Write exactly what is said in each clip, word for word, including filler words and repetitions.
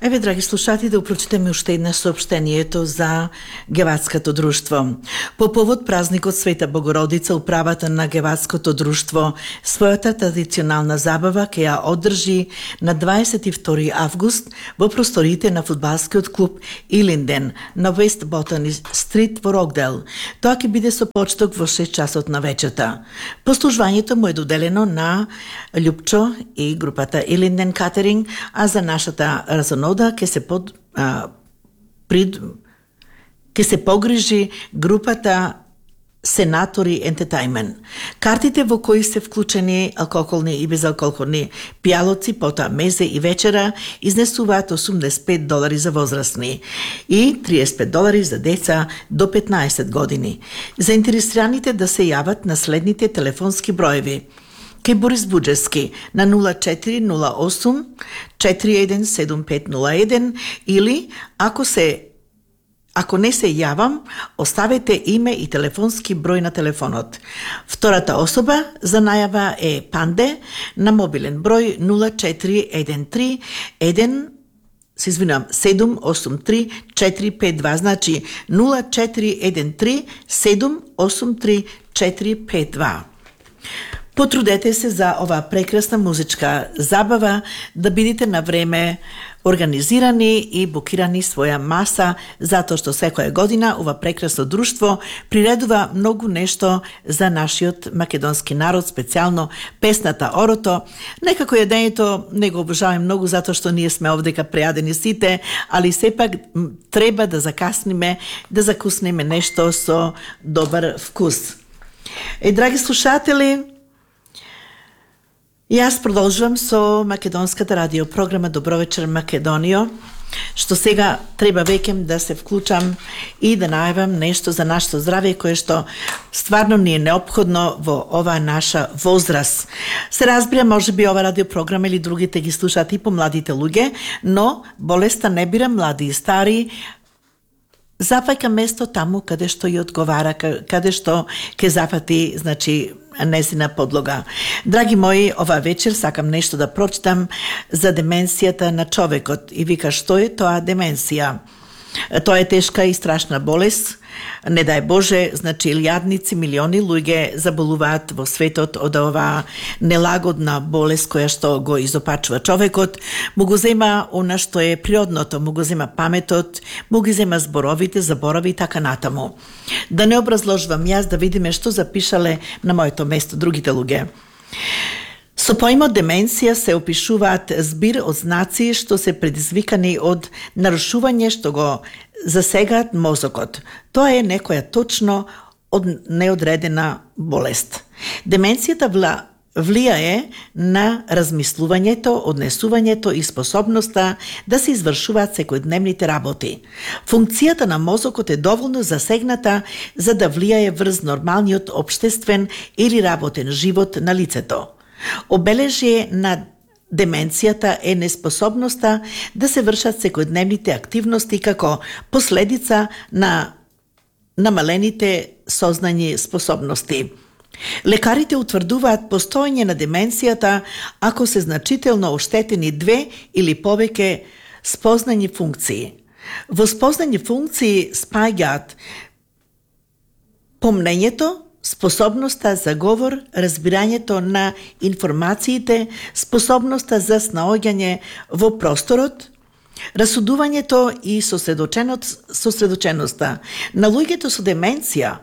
Еве, драги слушатели, да упрочитаме уште една сообщението за Гевацкото друштво. По повод празникот Света Богородица, управата на Гевацкото друштво својата традиционална забава ќе ја одржи на дваесет и втори август во просториите на фудбалскиот клуб Илинден на Вест Ботани Стрит во Рокдел. Тоа ќе биде со почеток во шест часот на вечерта. Послужувањето му е доделено на Љупчо и групата Илинден Катеринг, а за нашата разонода ќе се под а, прид ќе се погрижи групата Сенатори Ентетајмент. Картите во кои се вклучени алкохолни и безалкохолни пијалоци, потоа мезе и вечера, изнесуваат осумдесет и пет долари за возрастни и триесет и пет долари за деца до петнаесет години. Заинтересираните да се јават на следните телефонски броеви: кај Борис Буџевски на нула четири нула осум четири еден седум пет нула еден или ако се Ако не се јавам, оставете име и телефонски број на телефонот. Втората особа за најава е Панде на мобилен број нула четири еден три еден се извинувам, седум осум три четири пет два, значи нула четири еден три седум осум три четири пет два. Потрудете се за оваа прекрасна музичка забава, да бидете на време организирани и букирани своја маса, затоа што секоја година ова прекрасно друштво приредува многу нешто за нашиот македонски народ, специјално песната Орото. Некако јадењето не го обожаваме многу затоа што ние сме овдека прејадени сите, али сепак треба да закасниме, да закуснеме нешто со добар вкус. Е, драги слушатели, јас продолжувам со македонската радиопрограма Добро вечер Македонијо, што сега треба веќе да се вклучам и да најавам нешто за нашето здравје, кое што стварно ни е неопходно во оваа наша возраст. Се разбира, може би ова радиопрограма или другите ги слушаат и помладите луѓе, но болеста не бира млади и стари, зафаќа место таму каде што ја одговара, каде што ќе зафати, значи, незина подлога. Драги мои, ова вечер сакам нешто да прочитам за деменцијата на човекот. И вика, што е тоа деменција? Тоа е тешка и страшна болест. Не дај Боже, значи илјадници, милиони луѓе заболуваат во светот од оваа нелагодна болест која што го изопачува човекот. Му го зема она што е природното, му го зема паметот, му ги зема зборовите, заборави и така натаму. Да не образложувам јас, да видиме што запишале на моето место другите луѓе. Со поимот деменција се опишуваат збир од знаци што се предизвикани од нарушување што го засегаат мозокот. Тоа е некоја точно од неодредена болест. Деменцијата вла влијае на размислувањето, однесувањето и способноста да се извршуваат секојдневните работи. Функцијата на мозокот е доволно засегната за да влијае врз нормалниот општествен или работен живот на лицето. Обележие на деменцијата е неспособноста да се вршат секојдневните активности како последица на намалените сознањи способности. Лекарите утврдуваат постоење на деменцијата ако се значително оштетени две или повеќе спознањи функции. Во спознањи функции спаѓаат помнењето, способноста за говор, разбирањето на информациите, способноста за снаоѓање во просторот, расудувањето и сосредоченоста. На луѓето со деменција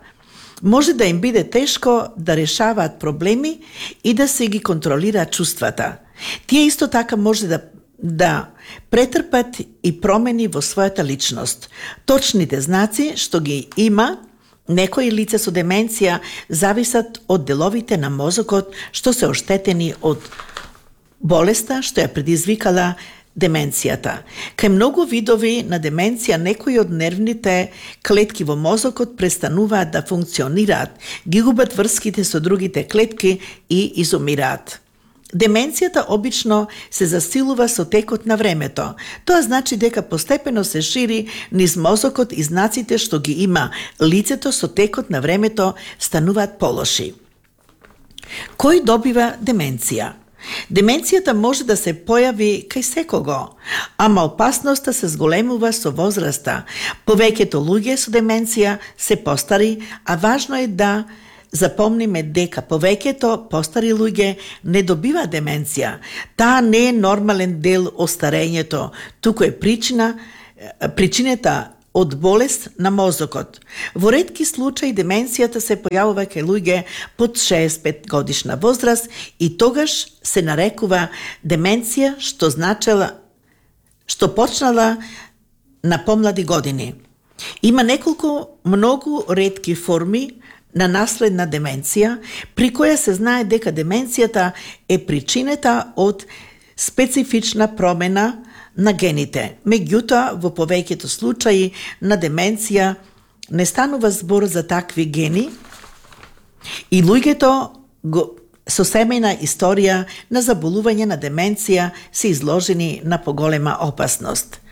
може да им биде тешко да решаваат проблеми и да се ги контролираат чувствата. Тие исто така може да да претрпат и промени во својата личност. Точните знаци што ги има некои лица со деменција зависат од деловите на мозокот што се оштетени од болеста што ја предизвикала деменцијата. Кај многу видови на деменција некои од нервните клетки во мозокот престануваат да функционираат, ги губат врските со другите клетки и изумираат. Деменцијата обично се засилува со текот на времето. Тоа значи дека постепено се шири низ мозокот и знаците што ги има лицето со текот на времето стануваат полоши. Кој добива деменција? Деменцијата може да се појави кај секого, ама опасноста се зголемува со возраста. Повеќето луѓе со деменција се постари, а важно е да запомниме дека повеќето постари луѓе не добива деменција. Таа не е нормален дел од старењето, туку е причина, причината од болест на мозокот. Во ретки случаи деменцијата се појавува кај луѓе под шеесет и пет годишна возраст и тогаш се нарекува деменција, што значела што почнала на помлади години. Има неколку многу ретки форми на наследна деменција, при која се знае дека деменцијата е причината од специфична промена на гените. Меѓутоа, во повеќето случаи на деменција не станува збор за такви гени и луѓето го, со семејна историја на заболување на деменција се изложени на поголема опасност.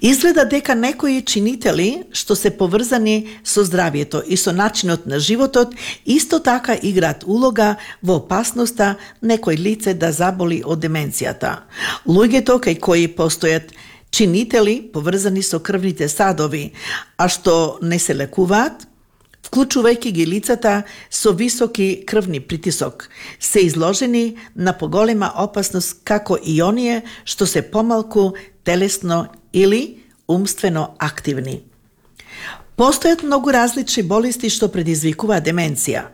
Изгледа дека некои чинители што се поврзани со здравието и со начинот на животот исто така играат улога во опасноста некој лице да заболи од деменцијата. Луѓето кај кои постојат чинители поврзани со крвните садови, а што не се лекуваат, вклучувајќи ги лицата со високи крвни притисок, се изложени на поголема опасност како и оние што се помалку телесно или умствено активни. Постојат многу различни болести што предизвикуваат деменција.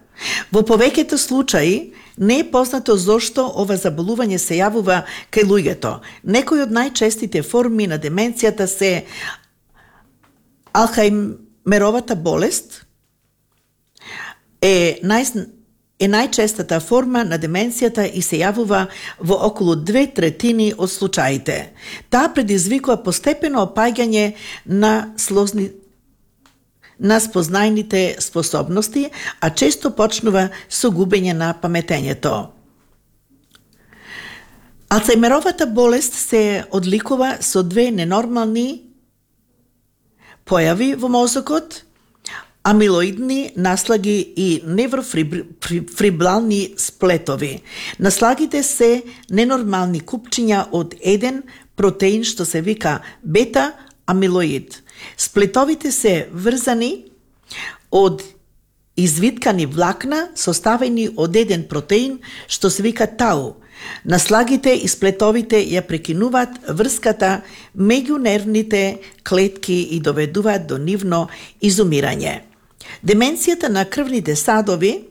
Во повеќето случаи не е познато зошто ова заболување се јавува кај луѓето. Некои од најчестите форми на деменцијата се Алцхајмеровата болест, е нај е најчестата форма на деменцијата и се јавува во околу две третини од случаите. Таа предизвикува постепено опаѓање на слозни на спознајните способности, а често почнува со губење на паметењето. Алцхајмеровата болест се одликува со две ненормални појави во мозокот, амилоидни наслаги и неврофибрални сплетови. Наслагите се ненормални купчиња од еден протеин што се вика бета-амилоид. Сплетовите се врзани од извиткани влакна составени од еден протеин што се вика тау. Наслагите и сплетовите ја прекинуваат врската меѓу нервните клетки и доведуваат до нивно изумирање. Деменцијата на крвните садови,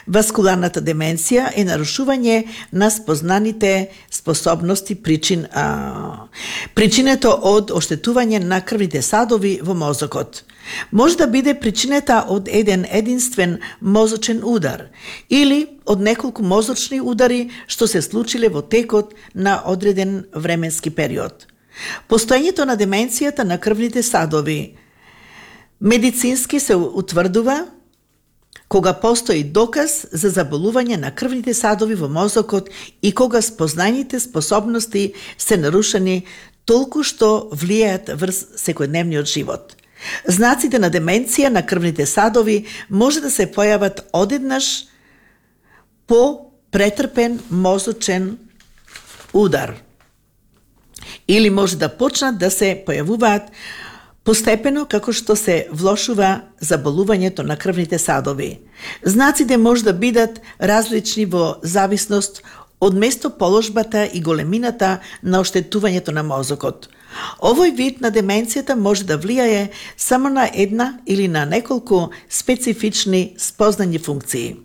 васкуларната деменција, е нарушување на спознаните способности причин, а, причинето од оштетување на крвните садови во мозокот. Може да биде причината од еден единствен мозочен удар или од неколку мозочни удари што се случиле во текот на одреден временски период. Постоењето на деменцијата на крвните садови медицински се утврдува кога постои доказ за заболување на крвните садови во мозокот и кога спознајните способности се нарушени толку што влијаат врз секојдневниот живот. Знаците на деменција на крвните садови може да се појават одеднаш по претрпен мозочен удар или може да почнат да се појавуваат постепено како што се влошува заболувањето на крвните садови. Знаците може да бидат различни во зависност од местоположбата и големината на оштетувањето на мозокот. Овој вид на деменцијата може да влијае само на една или на неколку специфични спознани функции.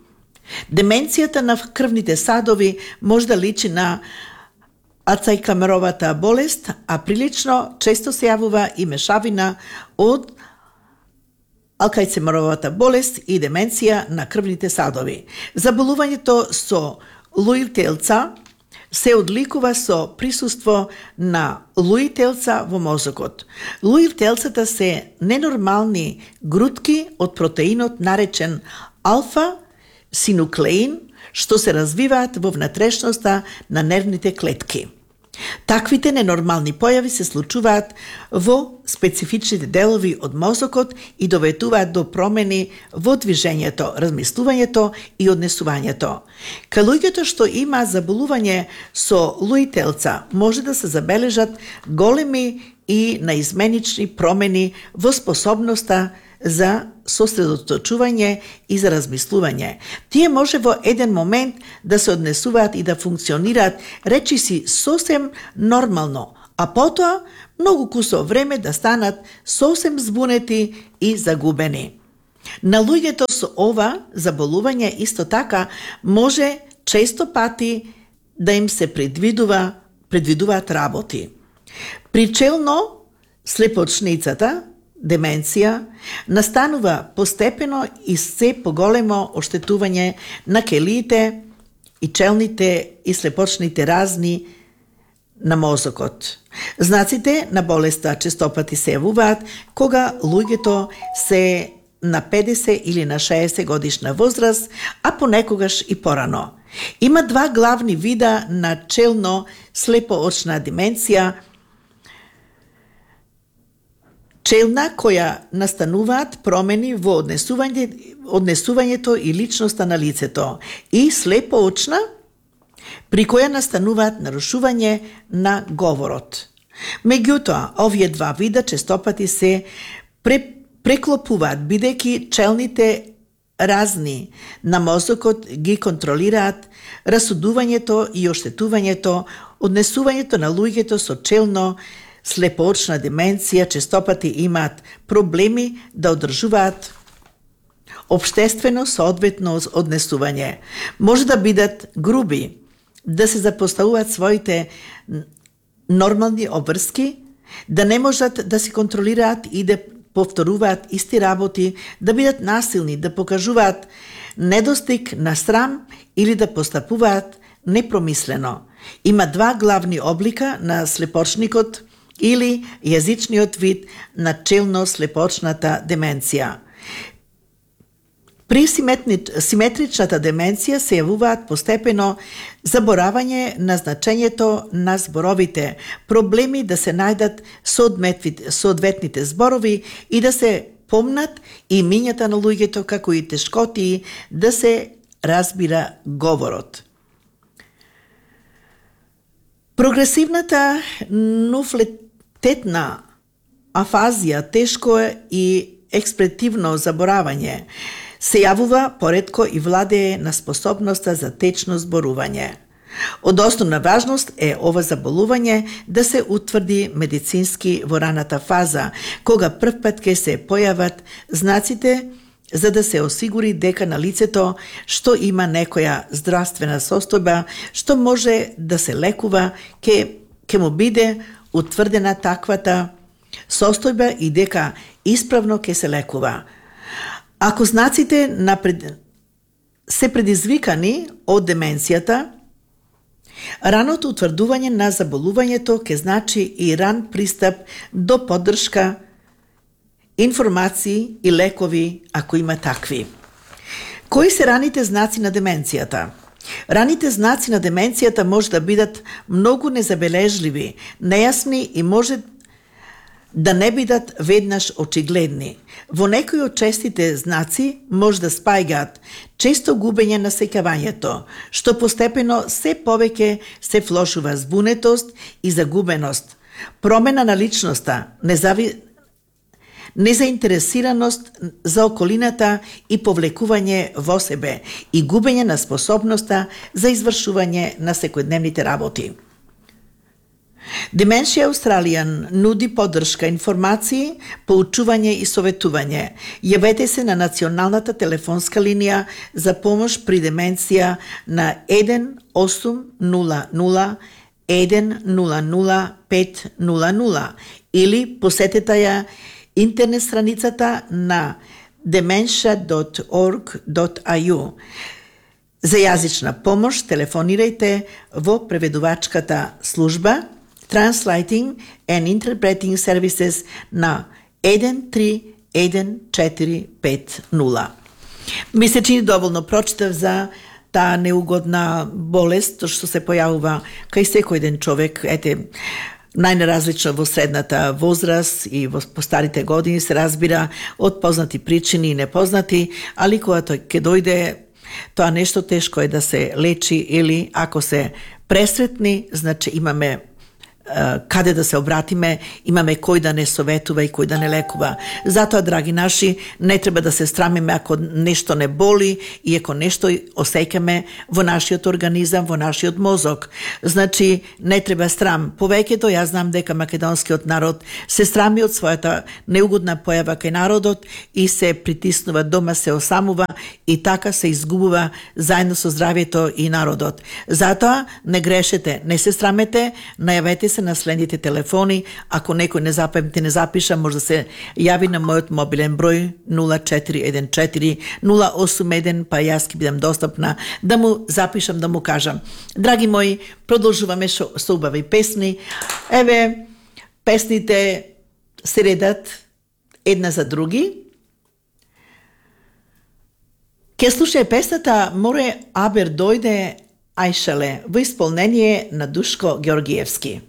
Деменцијата на крвните садови може да личи на Алцхајмеровата болест, а прилично често се јавува и мешавина од Алцхајмеровата болест и деменција на крвните садови. Заболувањето со луи телца се одликува со присуство на луи телца во мозокот. Луи телцата се ненормални грудки од протеинот наречен алфа-синуклеин, што се развиваат во внатрешноста на нервните клетки. Таквите ненормални појави се случуваат во специфичните делови од мозокот и доведуваат до промени во движењето, размислувањето и однесувањето. Кај луѓето што има заболување со Луи телца, може да се забележат големи и наизменични промени во способноста за сосредоточување и за размислување. Тие може во еден момент да се однесуваат и да функционираат речиси сосем нормално, а потоа многу кусо време да станат сосем збунети и загубени. На луѓето со ова заболување исто така може често пати да им се предвидува, предвидуваат работи. Причелно слепочницата, деменција, настанува постепено и се поголемо оштетување на келиите и челните и слепочните разни на мозокот. Знаците на болеста честопати се јавуваат кога луѓето се на педесет или на шеесет годишна возраст, а понекогаш и порано. Има два главни вида на челно слепоочна деменција, челна која настануваат промени во однесување, однесувањето и личноста на лицето, и слепоочна при која настануваат нарушување на говорот. Меѓутоа, овие два вида честопати се пре, преклопуваат, бидејќи челните разни на мозокот ги контролираат расудувањето и оштетувањето, однесувањето на луѓето со челно слепоочна деменција честопати имаат проблеми да одржуваат општествено соодветно однесување. Може да бидат груби, да се запоставуваат своите нормални обврски, да не можат да се контролираат и да повторуваат исти работи, да бидат насилни, да покажуваат недостиг на срам или да постапуваат непромислено. Има два главни облика на слепочникот или јазичниот вид на челно-слепочната деменција. При симетричната деменција се јавуваат постепено заборавање на значењето на зборовите, проблеми да се најдат соодветните зборови и да се помнат имињата на луѓето, како и тешкотии да се разбира говорот. Прогресивната нуфлететна афазија, тешко и експретивно заборавање, се јавува поретко и владее на способноста за течно зборување. Од основна важност е ова заболување да се утврди медицински во раната фаза, кога првпат ке се појават знаците, за да се осигури дека на лицето што има некоја здравствена состојба, што може да се лекува, ке, ке му биде утврдена таквата состојба и дека исправно ке се лекува. Ако знаците напред... се предизвикани од деменцијата, раното утврдување на заболувањето ке значи и ран пристап до поддршка, информации и лекови, ако има такви. Кои се раните знаци на деменцијата? Раните знаци на деменцијата може да бидат многу незабележливи, нејасни и може да не бидат веднаш очигледни. Во некои од честите знаци може да спајгаат често губење на сеќавањето, што постепено се повеќе се влошува збунетост и загубеност, промена на личноста, незави... незаинтересираност за околината и повлекување во себе и губење на способноста за извршување на секојдневните работи. Dementia Australian нуди поддршка, информации, поучување и советување. Јавете се на националната телефонска линија за помош при деменција на еден осум нула нула еден нула нула пет нула нула или посетете ја интернет страницата на dementia dot org dot a u. За јазична помош телефонирајте во преведувачката служба Translating and Interpreting Services на еден три еден четири пет нула. Ми се чини доволно прочитав за таа неугодна болест што се појавува кај секој еден човек, ете, најнаразлично во средната возраст и во постарите години, се разбира, од познати причини и непознати, али кога тој ќе дојде, тоа нешто тешко е да се лечи, или ако се пресретни, значи имаме каде да се обратиме, имаме кој да не советува и кој да не лекува. Затоа, драги наши, не треба да се страмиме ако нешто не боли и ако нешто осеќаме во нашиот организам, во нашиот мозок. Значи, не треба страм. Повеќето, јас знам дека македонскиот народ се страми од својата неугодна појава кај народот и се притиснува дома, се осамува и така се изгубува заедно со здравието и народот. Затоа, не грешете, не се срамете, најавете се на следните телефони. Ако некој не запамти, не запиша, може да се јави на мојот мобилен број нула четири еден четири нула осум еден, па јас ќе бидам достапна да му запишам, да му кажам. Драги мои, продолжуваме шо, со убави песни. Еве, песните се редат една за други. Ке слушај песната Море Абер дојде Ајшале во исполнение на Душко Георгиевски.